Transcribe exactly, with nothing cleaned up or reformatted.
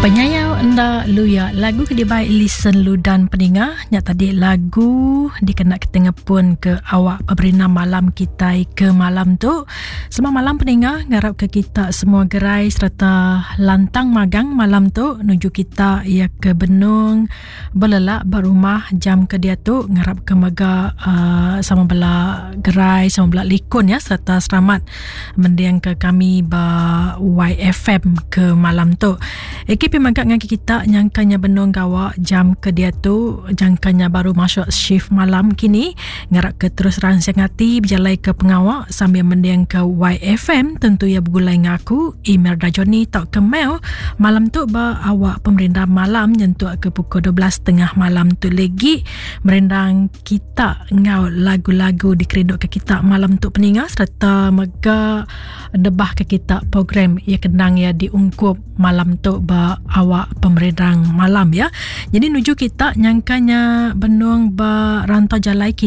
Penyayau enda luya lagu ke dibai listen ludan peninga nya tadi lagu dikena kita ngepun ke awak pemerintah malam kita ke malam tu. Selamat malam peninga, ngarap ke kita semua gerai serta lantang magang malam tu nuju kita ia ke benung belelak berumah jam ke dia tu, ngarap ke mega uh, sama bela gerai sama bela likun ya serta selamat mendiang ke kami ba Y F M ke malam tu. Ekip magak dengan kita nyangkanya benung gawak jam ke dia tu, jangkanya baru masuk shift malam kini, ngarap ke terus rangsang hati berjalai ke pengawak sambil mendiang ke Y F M tentu ya bergulai ngaku email Rajoni tak ke mail malam tu ba awak pemerintah malam nyentuk ke pukul dua belas tiga puluh malam tu lagi merendang kita ngau lagu-lagu dikerinduk ke kita malam tu peninga serta mega nebah ke kita program ya kenang ya diungkup malam tu ba awak pemerintah malam ya. Jadi nuju kita nyangkanya benung ba rantau jalai